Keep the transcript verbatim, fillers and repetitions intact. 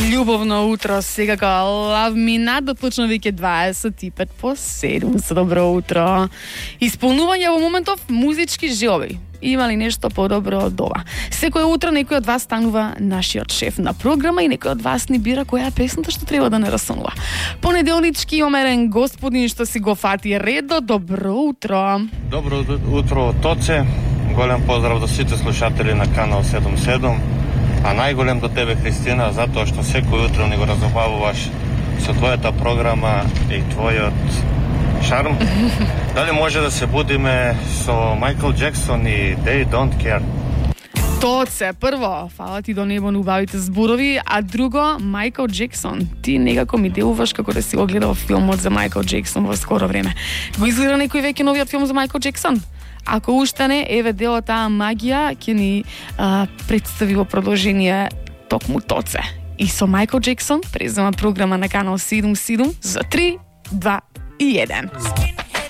Љубовно утро, секако Love Me Not да почна веќе дваесет и пет по седум. За добро утро. Исполнување во моментов музички желби. Има ли нешто подобро од ова? Секој утро некој од вас станува нашиот шеф на програма и некој од вас ни бира која е песната што треба да не расонува. Понеделнички омерен господин што си го фати редо. Добро утро. Добро утро од Тоце. Голем поздрав до сите слушатели на канал седум седум. А најголем до тебе, Христина, затоа што секој утро ни го разобавуваш со твојата програма и твојот шарм. Дали може да се будиме со Майкл Джексон и They Don't Care? Тоце, прво, фала ти до небо на убавите зборови, а друго, Майкл Джексон. Ти некако ми делуваш како да си го гледал филмот за Майкл Джексон во скоро време. Го изгледа некој веќе новиот филм за Майкл Джексон? Ако уште не, еве дел од таа магија ќе ни а, представи во продолжение токму Тоце. И со Майкл Джексон презема програма на канал седум седум за три, два и еден.